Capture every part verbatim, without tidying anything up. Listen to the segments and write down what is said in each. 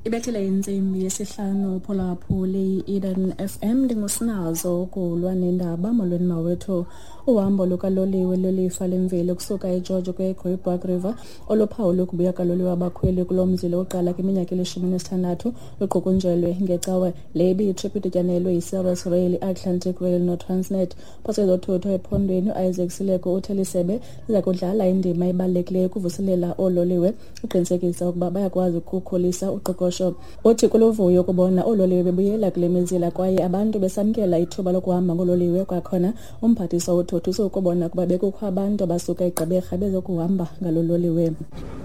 Ibethile intsimbi yesihlanu phulaphuli Eden F M ndingusinazo ukulwa nendaba. Molweni mawethu. Uhambo lukaloliwe lwelifa lemveli kusuka eGeorge ukuya eGrooibok River oluphawula ukubuya kaloliwe abakhweli kulo mzila oqala kwiminyaka elishumi nesithandathu luqukunjelwe ngecawe. Le ibiyitrip idityanelwe yiService Rail, i-Atlantic Rail noTransnet. Phose ezothutho ephondweni uIsaac Sileko uthe lisebe liza kudlala indima ebalulekileyo ukuvuselela oololiwe uqinisekisa ukuba bayakwazi ukukhulisa uqoqosho. Uthi kuluvuyo ukubona oololiwe bebuyela kule mizila kwaye abantu besamkela ithuba lokuhamba ngololiwe. Kwakhona umphathiswa uthotho ukubona ukuba bekukho abantu abasuka eGqeberha bezokuhamba ngalo loliwe.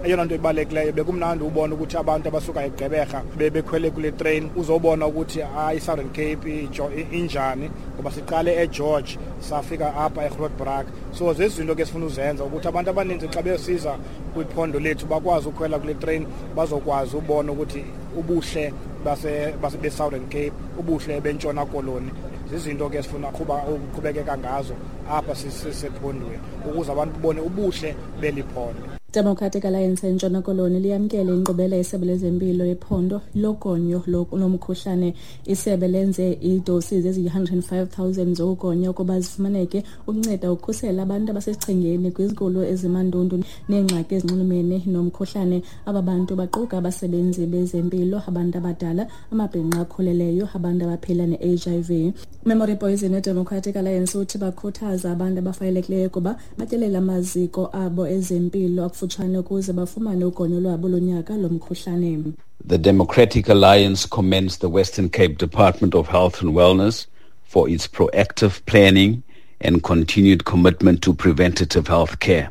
Eyona nto ibalulekileyo bekumnandi ubona ukuthi abantu abasuka eGqeberha bebekhwele kule train, uzobona ukuthi hayi i-Southern Cape injani, ngoba siqale eGeorge safika apha eGrootbrak. So zezinto ke sifuna uzenza ukuthi abantu abaninzi xa besiza kwiphondo lethu bakwazi ukhwela kule train, bazokwazi ubona ukuthi ubuhle base base Southern Cape, ubuhle bentshona koloni. Zizinto ke sifuna ukuqhubekeka ngazo apha sisephondweni ukuze abantu babone ubuhle beli phondo. Democratic Alliance eNtshona Koloni liyamkele inkqubela yesebe lezempilo yephondo logonyo lomkhuhlane. Isebe lenze iidosi eziyi-one hundred and five thousand zokugonya ukuba zifumaneke ukunceda ukukhusela abantu abasesichengeni kwizigulo ezimandundu neengxaki ezinxulumene nomkhuhlane. Aba bantu baquka abasebenzi bezempilo, abantu abadala, amabhinqa akhuleleyo, abantu abaphila ne-H I V. Memory Poison eDemocratic Alliance uthi bakhuthaza abantu abafanelekileyo ukuba batyelele amaziko abo ezempilo akufutshane ukuze bafumane ugonyo lwabo lonyaka lomkhuhlane. The Democratic Alliance commends the Western Cape Department of Health and Wellness for its proactive planning and continued commitment to preventative health care.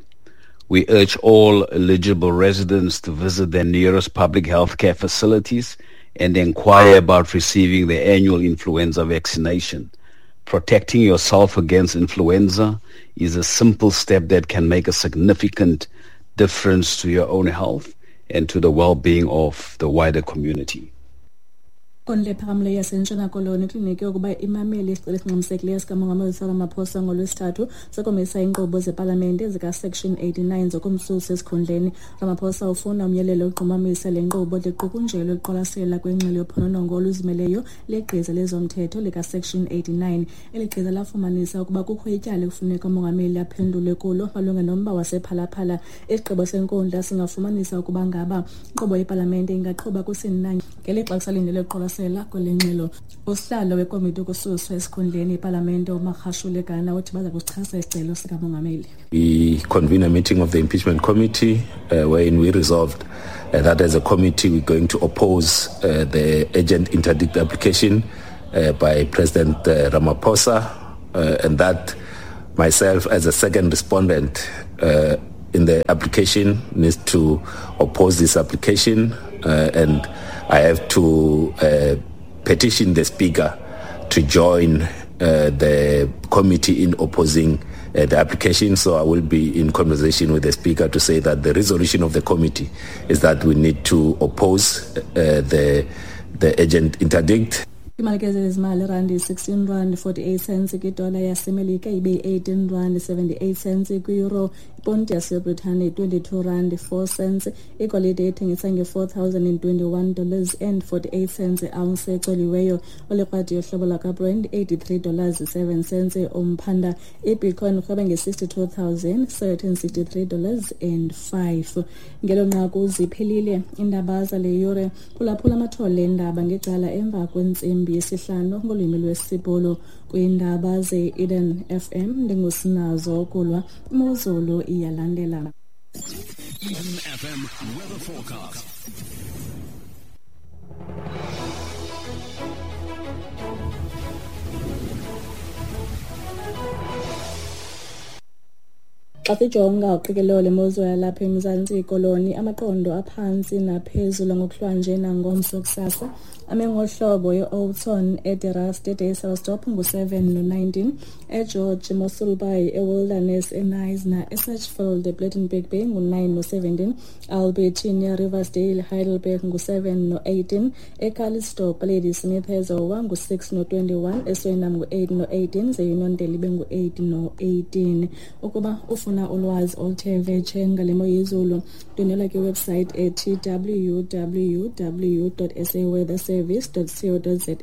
We urge all eligible residents to visit their nearest public health care facilities and inquire about receiving the annual influenza vaccination. Protecting yourself against influenza is a simple step that can make a significant difference to your own health and to the well-being of the wider community. Inkundla ephakamileyo yaseNtshona Koloni ikliniki yokuba imamele isicelo esingxamisekileyo sikaMongameli Cyril Ramaphosa ngoLwesithathu sokumisa iinkqubo zepalamente zikaSection eighty-nine zokumsusa esikhundleni. Ramaphosa ufuna umyalelo oqhumamisa le nkqubo liqukunjelwe ukuqwalasela kwengxelo yophononongo oluzimeleyo legqiza lezomthetho likaSection eighty-nine. Eli gqiza lafumanisa ukuba kukho ityala ekufuneka umongameli aphendule kulo malunga nomba wasePhalaphala. Isigqibo senkundla singafumanisa ukuba ngaba inkqubo yepalamente ingaqhuba kusini na ngelixa kusalindele ukuqwalasela kwale ngxelo. Usihlalo wekomiti yokususwa esikhundleni ipalamente uMagashule Gana uthi baza kusichasa isicelo sikamongameli. We convened a meeting of the impeachment committee uh, wherein we resolved uh, that as a committee we're going to oppose uh, the urgent interdict application uh, by President uh, Ramaphosa uh, and that myself as a second respondent uh, in the application needs to oppose this application uh, and I have to uh, petition the Speaker to join uh, the committee in opposing uh, the application. So I will be in conversation with the Speaker to say that the resolution of the committee is that we need to oppose uh, the, the urgent interdict. Imali ke zezimali randi sixteen rand forty-eight cents kwidola yaseMelika ibe eighteen rand seventy-eight cents kwi-euro, iponti yaseBritane twenty-two rand four cents, igolide ethengisa nge-four thousand and twenty-one dollars and forty-eight cents ounce ecoliweyo, olikrwadi yohlobo lwakaBrent eighty-three dollars seven cents umphanda, ibitcoin irhweba nge-sixty-two thousand seven hundred sixty-three dollars and five. Ngelo nqaku ziphelile iindaba zale yure. Phulaphula amathole endaba ngecala emva kwentsimbi yesihlanu ngolwimi lwesiBhulu. Kwiindaba ze-Eden F M ndingusinazo kulwa imozulu iyalandela. Eden F M weather forecast. Xa sijonga uqikelelo lemozulu yalapha eMzantsi Koloni, amaqondo aphantsi naphezulu ngokuhlwanje nangomso kusasa ame ngohlobo ye-Oudtshoorn, eDerust, eDysselsdorp ngu-seven no-nineteen, eGeorge, Mossel Bay, eWilderness, eKnysna, eSachsfield, ePlettenberg Bay ngu-nine no-seventeen, Albertinia, Riversdale, Heidelberg ngu-seven no-eighteen, eCalitzdorp, Ladysmith, eZowa ngu-six no-twenty-one, eSwellnum ngu-eight no-eighteen, ze-Uniondale ibe ngu-eight no-eighteen. Ukuba ufuna Ukufumana ulwazi oluthe vetshe ngale mo yezulu, ndwendwela kwiwebsite ethi w w w dot s a weather service dot co dot za.